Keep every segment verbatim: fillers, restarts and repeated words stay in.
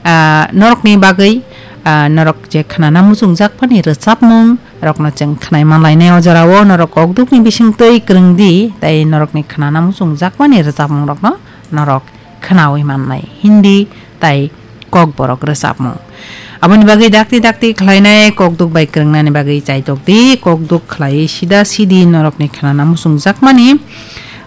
ah, norokni bagwi, ah, norok je khnana muchungjak phani rwchapmung rokno chwng khnai manlainai o jorao norok kokdukni bisingtwi kwrwng di, tei norokni khnana muchungjak phani rwchapmung rokno norok khnaui mannai Hindi tai Kokborok rwchapmung. Aboni bagwi dakti dakti khlainai kokduk bai kwrwngnani bagwi chaitok di, kokduk khlaiwi sida sidi norokni khnana muchungjakmani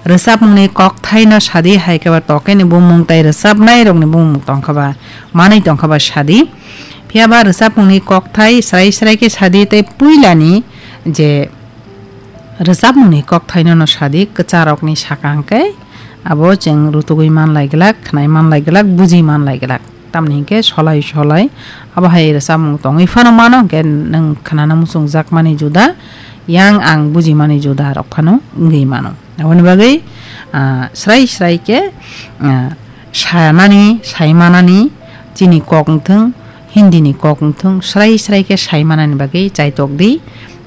rwchapmungni kokthaino sadi, hai khe ba tokeni bumung tai rwchapnairokni bumung tongkha ba manwi tongkha ba sadi. Phiya ba rwchapmungni kokthai srai srai khe sadi tei puilani je rwchapmungni kokthaino no sadi, kwcharokni saka hwnkhe abo chwng rutugwi manlai glak, khnai manlai glak, buji manlai glak. Tamni hwnkhe solai solai abo hai rwchapmung tongwi phano mano, hwnkhe nwng khnana muchungjakmani juda, yang ang bujimani juda rok phano wngwi mano. Aboni bagwi, ah, srai srai khe, ah, sanani, saimanani, chini kok wngthung, Hindi ni kok wngthung, srai srai khe saimanani bagwi chaitok di,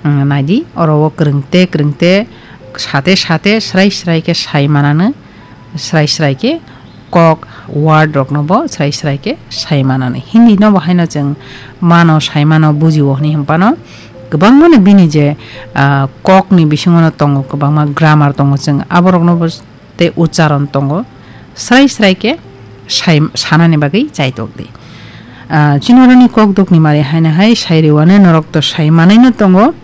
mm, nai di, oro o kwrwng te, kwrwng te, sate, sate, srai srai khe saimanani, srai srai khe kok word rokno bo srai srai khe saimanani. Hindi no bo haino chwng mano, saimano, bujio hwnwi hwnphano kwbangmano bini je, ah, kokni bisingo no tongo, kwbangma grammar tongo, chwng aborokno bo tei ucharon tongo, srai srai khe sai-, sanani bagwi chaitok di. Ah, chinorani kokdukni mari haino hai sai rwani norok to sai manwi no tongo,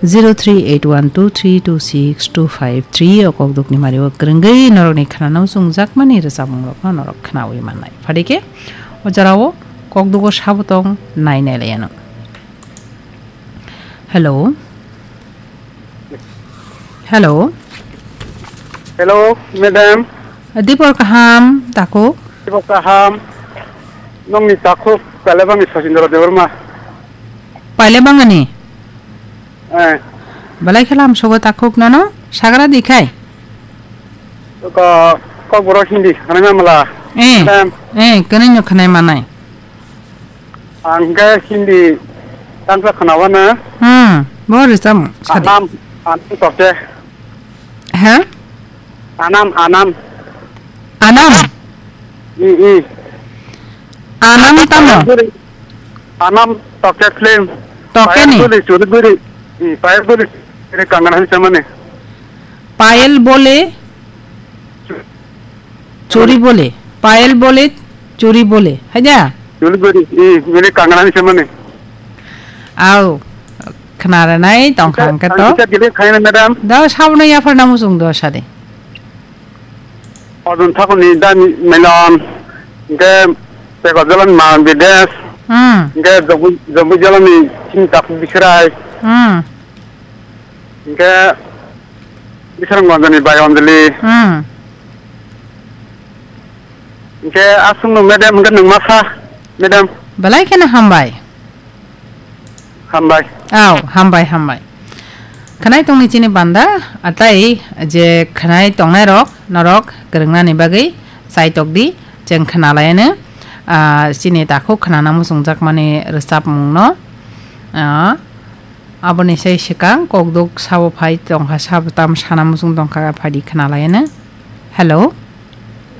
zero three eight one two three two six two five three o kokdukni mari o kwrwngwi norokni khnana muchungjakmani rwchapmung rokno norok khnaui mannai. Phadi khe o jorao kokdugo sabo tong nai nai laiano. Hello. Hello. Hello, madam. Dipor kaham, takhuk. Dipor kaham. Nongni takhuk, Pailabangni Sachindra Debbarma. Pailabangani? Eh. Belai khe lam sogo takhuk nono, sagra di khai? Ko, kokborok Hindi, hanai mamala. Eh. Madam. Eh, kwnwi no khnai manai. Ang khe Hindi tangsa khwnawano. Hmm, bo rwchapmung sadi. Anam, Anam Tokte. Ha? Anam, Anam. Anam? I, i. Anam tamo? Anam Tokte film. Tokte ni? Payal Boli, Churi Boli. I, Payal Boli. Ini Kangana Hansamani. Payal Bole? Churi bole, payal bole, churi bole. Haida? Churi bole, i, bole kangra ni samani. Au, khna ranai tongkha hwnkhe to. Ang kisa delete khaina, madam. Da sabno yaphar namu sung do sade. Odun thakuni dan melon, hwnkhe peko jalan ma bides. Hmm. Hwnkhe jobu, jobu jalani chini tak bisrai. Hmm. Hwnkhe Bisramganjani bai Anjali. Hmm. Hwnkhe aswkno madam hwnkhe nwng ma sa, madam? Belai kheno hambai. Hambai. Au, hambai, hambai. Khwnai tongni chini banda, atai je khwnai tongnairok, norok kwrwngnani bagwi chaitok di, chwng khwnalaiyano, ah, chini takhuk khwnana muchungjakmani rwchapmungno, ah, Aboni sai swkang kokduk sabo phai tongkha, sabo tam sana muchung tongkha, phaidi khna lai no. Hello.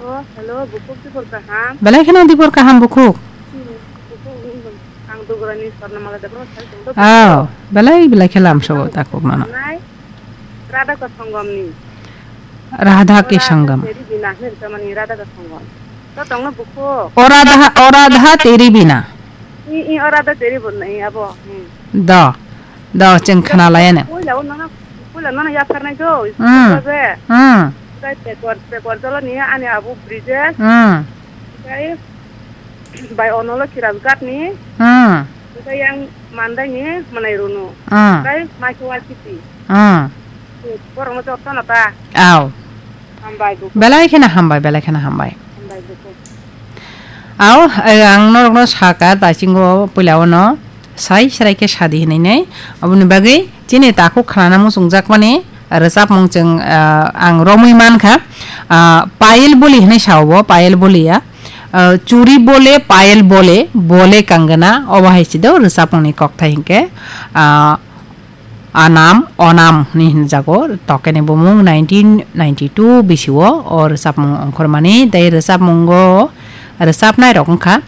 Oh, hello, bukhuk dibor kaham. Belai kheno dibor kaham bukhuk. Hmm, bukhuk, hmm, ang dugurani sorna mala debor sai tongdo. Oh, belai belai khe lam sobo ta kok mano. Nai, Radha ka songom ni. Radha ke songom. Teri bina hne tamani Radha ka songom. To tongno bukhuk. O Radha, o Radha teri bina. I, i, o Radha teri bina, i, abo. Hmm. Do. Do, chwng khna lai ano. Puila o nono, puila nono yapharnai do, Hmm. School o je. Hmm. Tei pekor, pekor jolo ni ani abu Brijesh. Hmm. Tei bai Onolo Khirajgat ni. Hmm. Tei yang Mandai ni Manai Runu. Hmm. Tei Maikho Waisiti. Hmm. Borokno jotono ta. Au. Hambai bukhuk. Belai kheno hambai, belai kheno hambai. Hambai bukhuk. Au, eh, ang norokno saka, taisingo puila ono sai serai khe sadi hinwi nei. Aboni bagwi chini takhuk khnana muchungjakmani rwchapmung chwng, ah, ang romwi mankha. Ah, Payel Boli hinwi sao bo, Payel Boli ya. Ah, Churi Bole, Payel Bole, Bole Kangana, obo hai sido rwchapmungni kokthai hinkhe, ah, Anam, Onam hwnwi hwnjago, tokeni bumung nineteen ninety-two bisio o rwchapmung ongkhormani, tei rwchapmungo rwchapnairok wngkha